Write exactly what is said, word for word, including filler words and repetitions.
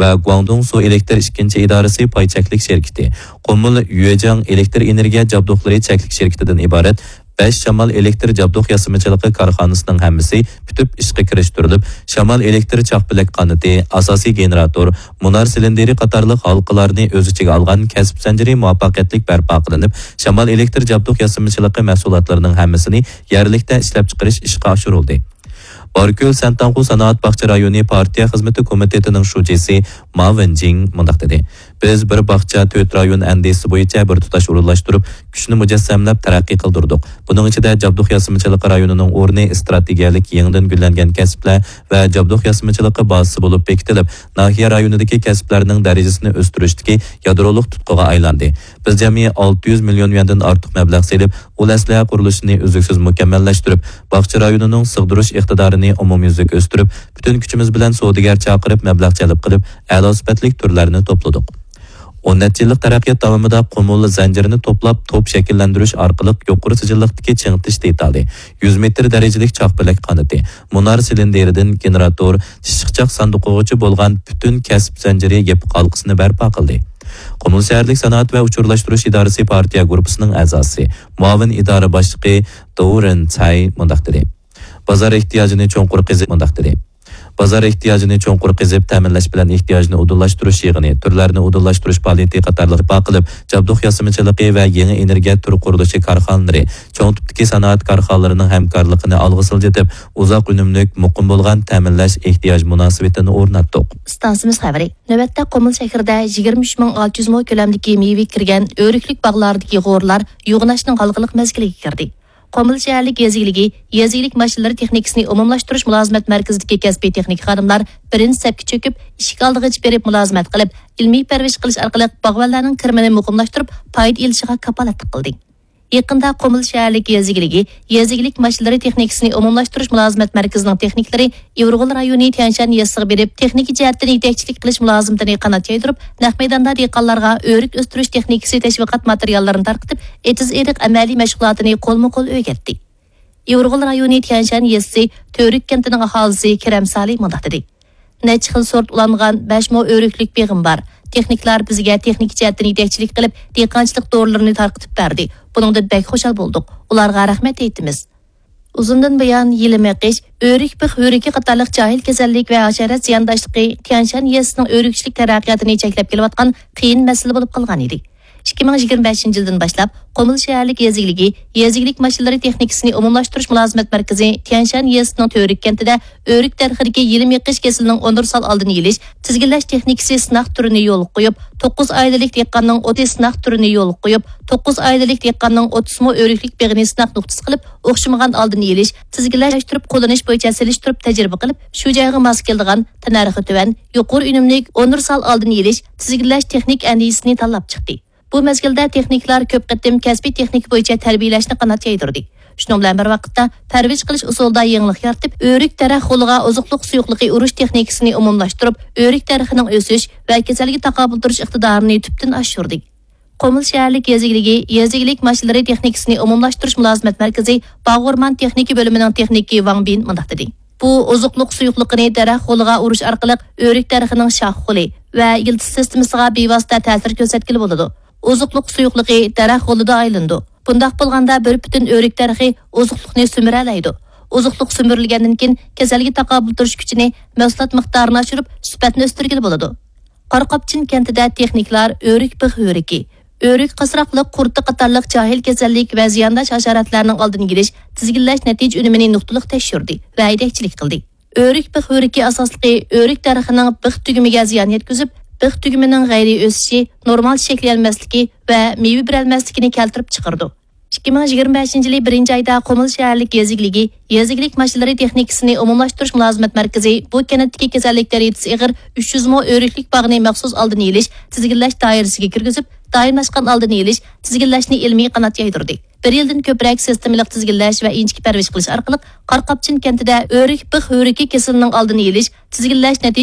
ۋە گۇاڭدۇڭ سۇ ئېلېكتر ئىككىنچى ئىدارىسى پاي چەكلىك شىركىتى، قۇمۇل يۈەجياڭ ئېلېكتر ئېنېرگىيە جابدۇقلىرى چەكلىك شىركىتىدىن ئىبارەت بەش شامال ئېلېكتر جابدۇق ياسىمىچىلىقى كارخانىسىنىڭ ھەممىسى پۈتۈپ ئىشقا كىرىشتۈرۈلۈپ، شامال ئېلېكتر چاقپەلەك قانىتى، ئاساسىي گېنېراتور، مۇنار سىلىندىرى قاتارلىق ھالقىلارنى ئۆز ئىچىگە ئالغان كەسىپ زەنجىرى مۇۋەپپەقىيەتلىك بەرپا قىلىنىپ، شامال ئېلېكتر جابدۇق ياسىمىچىلىقى مەھسۇلاتلىرىنىڭ ھەممىسىنى يەرلىكتە ئىشلەپچىقىرىش ئىشقا ئاشۇرۇلدى. باركۆل سەنتاڭخۇ سانائەت باغچە رايونى پارتىيە خىزمىتى كومىتېتىنىڭ شۇجىسى ما ۋېنجىڭ مۇنداق دېدى: بىز بىر باغچە، تۆت رايون ئەندىزىسى بويىچە بىر تۇتاش ئورۇنلاشتۇرۇپ، كۈچنى مۇجەسسەملەپ تەرەققىي قىلدۇردۇق. بۇنىڭ ئىچىدە جابدۇق ياسىمىچىلىقى رايونىنىڭ ئورنى ئىستراتېگىيەلىك يېڭىدىن گۈللەنگەن كەسىپلەر ۋە جابدۇق ياسىمىچىلىقى بازىسى بولۇپ بېكىتىلىپ، ناھىيە رايونىدىكى كەسىپلەرنىڭ دەرىجىسىنى ئۆستۈرۈشتىكى يادرولۇق تۇتقىغا ئايلاندى. بىز جەمئىي ئالتە يۈز مىليون يۈەندىن ئارتۇق مەبلەغ سېلىپ، ئۇل ئەسلىھە قۇرۇلۇشىنى ئۈزلۈكسىز مۇكەممەللەشتۈرۈپ، باغچە رايونىنىڭ سىغدۇرۇش ئىقتىدارىنى ئومۇميۈزلۈك ئۆستۈرۈپ، پۈتۈن كۈچىمىز بىلەن سودىگەر چاقىرىپ، مەبلەغ جەلپ قىلىپ، ئەلا سۈپەتلىك تۈرلەرنى توپلىدۇق. ئون نەچچە يىللىق تەرەققىيات داۋامىدا قۇمۇل زەنجىرىنى توپلاپ، توپ شەكىللەندۈرۈش ئارقىلىق يۇقىرى سىجىللىقتىكى چىڭىتىش دېتالى، يۈز مېتىر دەرىجىلىك چاقپەلەك قانىتى، مۇنار سىلىندىرىدىن گېنېراتور، تىششىقچاق ساندۇقىغىچە بولغان پۈتۈن كەسىپ زەنجىرى يېپىق ھالقىسىنى بەرپا قىلدى. قۇمۇل شەھەرلىك سانائەت ۋە ئۇچۇرلاشتۇرۇش ئىدارىسى پارتىيە گۇرۇپپىسىنىڭ ئەزاسى، مۇئاۋىن ئىدارە باشلىقى دو رېن چاي مۇنداق دېدى: بازار ئېھتىياجىنى چوڭقۇر قېزىپ، مۇنداق دېدى. بازار ئېھتىياجىنى چوڭقۇر قېزىپ، تەمىنلەش بىلەن ئېھتىياجنى ئۇدۇللاشتۇرۇش يىغىنى، تۈرلەرنى ئۇدۇللاشتۇرۇش پائالىيىتى قاتارلىق بەرپا قىلىپ، جابدۇق ياسىمىچىلىقى ۋە يېڭى ئېنېرگىيە تۈر قۇرۇلۇشى كارخانىلىرى، چوڭ تىپتىكى سانائەت كارخانىلىرىنىڭ ھەمكارلىقىنى ئالغا سىلجىتىپ، ئۇزاق ئۈنۈملۈك، مۇقىم بولغان تەمىنلەش ئېھتىياج مۇناسىۋىتىنى ئورناتتۇق. ئىستانسىمىز خەۋىرى. نۆۋەتتە قۇمۇل شەھىرىدە يىگىرمە ئۈچ مىڭ ئالتە يۈز مو كۆلەمدىكى مېۋە كىرگەن ئۆرۈكلۈك باغلاردىكى غورلار يوغىناشنىڭ ھالقىلىق مەزگىلىگە كىردى. قۇمۇل شەھەرلىك يېزا ئىگىلىكى، يېزا ئىگىلىك ماشىنىلىرى تېخنىكىسىنى ئومۇملاشتۇرۇش مۇلازىمەت مەركىزىدىكى كەسپىي تېخنىك خادىملار بىرىنچى سەپكە چۆكۈپ، ئىشىك ئالدىغىچە بېرىپ مۇلازىمەت قىلىپ، ئىلمىي پەرۋىش قىلىش ئارقىلىق باغۋەنلەرنىڭ كىرىمىنى مۇقىملاشتۇرۇپ، پايدا ئېلىشىغا كاپالەتلىك قىلدى. يېقىندا قۇمۇل شەھەرلىك يېزا ئىگىلىكى، يېزا ئىگىلىك ماشىنىلىرى تېخنىكىسىنى ئومۇملاشتۇرۇش مۇلازىمەت مەركىزىنىڭ تېخنىكلىرى ئىۋغۇل رايونى تيەنشەن يېزىسىغا بېرىپ، تېخنىكا جەھەتتىن يېتەكچىلىك قىلىش مۇلازىمىتىنى قانات يايدۇرۇپ، نەق مەيداندا دېھقانلارغا ئۆرۈك ئۆستۈرۈش تېخنىكىسى تەشۋىقات ماتېرىياللىرىنى تارقىتىپ، ئېتىز-ئېرىق ئەمەلىي مەشغۇلاتىنى قولمۇ-قول ئۆگەتتى. ئىۋغۇل رايونى تيەنشەن يېزىسى تۆرۈك كەنتىنىڭ ئاھالىسى كېرەم سالى مۇنداق دېدى: نەچچە خىل سورت ئۇلانغان بەش مو ئۆرۈكلۈك بېغىم بار. تېخنىكلار بىزگە تېخنىكا جەھەتتىن يېتەكچىلىك قىلىپ، دېھقانچىلىق دورىلىرىنى تارقىتىپ بەردى. بۇنىڭدىن بەك خۇشال بولدۇق. ئۇلارغا رەھمەت ئېيتىمىز. ئۇزۇندىن بۇيان يېلىم ئېقىش، ئۆرۈك بىخ ھۆرىكى قاتارلىق جاھىل كېسەللىك ۋە ھاشارات زىيانداشلىقى تيەنشەن يېزىسىنىڭ ئۆرۈكچىلىك تەرەققىياتىنى چەكلەپ كېلىۋاتقان قىيىن مەسىلە بولۇپ قالغان ئىدى. ئىككى مىڭ يىگىرمە بەشىنچى يىلدىن باشلاپ، قۇمۇل شەھەرلىك يېزا ئىگىلىكى، يېزا ئىگىلىك ماشىنىلىرى تېخنىكىسىنى ئومۇملاشتۇرۇش مۇلازىمەت مەركىزى تيەنشەن يېزىسىنىڭ تۆرۈك كەنتىدە ئۆرۈك دەرىخىدىكى يېلىم ئېقىش كېسىلىنىڭ ئۇنىۋېرسال ئالدىنى ئېلىش، تىزگىنلەش تېخنىكىسى سىناق تۈرىنى يولغا قويۇپ، توققۇز ئائىلىلىك دېھقاننىڭ ئوتتۇز سىناق تۈرىنى يولغا قويۇپ، توققۇز ئائىلىلىك دېھقاننىڭ ئوتتۇز مو ئۆرۈكلۈك بېغىنى سىناق نۇقتىسى قىلىپ، ئوخشىمىغان ئالدىنى ئېلىش، تىزگىنلەشتۈرۈپ قوللىنىش بويىچە سېلىشتۇرۇپ تەجرىبە قىلىپ، شۇ جايغا ماس كېلىدىغان، تەننەرخى تۆۋەن، يۇقىرى ئۈنۈملۈك، ئۇنىۋېرسال ئالدىنى ئېلىش، تىزگىنلەش تېخنىك ئەندىزىسىنى تاللاپ چىقتى. بۇ مەزگىلدە تېخنىكلار كۆپ قېتىم كەسپىي تېخنىكا بويىچە تەربىيەلەشنى قانات يايدۇردى. شۇنىڭ بىلەن بىر ۋاقىتتا، پەرۋىش قىلىش ئۇسۇلىدا يېڭىلىق يارىتىپ، ئۆرۈك دەرەخ غولىغا ئوزۇقلۇق سۇيۇقلۇقى ئۇرۇش تېخنىكىسىنى ئومۇملاشتۇرۇپ، ئۆرۈك دەرىخىنىڭ ئۆسۈش ۋە كېسەلگە تاقابىل تۇرۇش ئىقتىدارىنى تۈپتىن ئاشۇردى. قۇمۇل شەھەرلىك يېزا ئىگىلىكى، يېزا ئىگىلىك ماشىنىلىرى تېخنىكىسىنى ئومۇملاشتۇرۇش مۇلازىمەت مەركىزى باغ ئورمان تېخنىكا بۆلۈمىنىڭ تېخنىكى ۋاڭ بىن مۇنداق دېدى: بۇ ئوزۇقلۇق سۇيۇقلۇقىنى دەرەخ غولىغا ئۇرۇش ئارقىلىق ئۆرۈك دەرىخىنىڭ شاخ غولى ۋە يىلتىز سىستېمىسىغا بىۋاسىتە تەسىر كۆرسەتكىلى بولىدۇ. ئوزۇقلۇق سۇيۇقلۇقى دەرەخ غولىدا ئايلىنىدۇ. بۇنداق بولغاندا بىر پۈتۈن ئۆرۈك دەرىخى ئوزۇقلۇقنى سۈمۈرەلەيدۇ. ئوزۇقلۇق سۈمۈرۈلگەندىن كېيىن كېسەلگە تاقابىل تۇرۇش كۈچىنى، مەھسۇلات مىقدارىنى ئاشۇرۇپ، سۈپەتنى ئۆستۈرگىلى بولىدۇ. قاراقاپچىن كەنتىدە تېخنىكلار ئۆرۈك بىخ ھۆرىكى، ئۆرۈك قاسراقلىق قۇرتى قاتارلىق جاھىل كېسەللىك ۋە زىيانداش ھاشاراتلارنىڭ ئالدىنى ئېلىش، تىزگىنلەش نەتىجە ئۈنۈمىنى نۇقتىلىق تەكشۈردى ۋە يېتەكچىلىك قىلدى. ئۆرۈك بىخ ھۆرىكى ئاساسلىقى ئۆرۈك دەرىخىنىڭ بىخ تۈگۈمىگە زىيان يەتكۈزۈپ، بىخ تۈگۈمىنىڭ غەيرىي ئۆسۈشى، نورمال شەكىللەنمەسلىكى ۋە مېۋە بېرەلمەسلىكىنى كەلتۈرۈپ چىقىرىدۇ. ئىككى مىڭ يىگىرمە بەشىنچى يىلى بىرىنچى ئايدا قۇمۇل شەھەرلىك يېزا ئىگىلىكى، يېزا ئىگىلىك ماشىنىلىرى تېخنىكىسىنى ئومۇملاشتۇرۇش مۇلازىمەت مەركىزى بۇ كەنتتىكى كېسەللىك دەرىجىسى ئېغىر ئۈچ يۈز مو ئۆرۈكلۈك باغنى مەخسۇس ئالدىنى ئېلىش، تىزگىنلەش دائىرىسىگە كىرگۈزۈپ، دائىملاشقان ئالدىنى ئېلىش، تىزگىنلەشنى ئىلمىي قانات يايدۇردى. بىر يىلدىن كۆپرەك سىستېمىلىق تىزگىنلەش ۋە ئىنچىكە پەرۋىش قىلىش ئارقىلىق، قاراقاپچىن كەنتىدە ئۆرۈك بىخ ھۆرىكى كېسىلىنىڭ ئالدىنى ئېلىش، تىزگىنلەش نەتىجە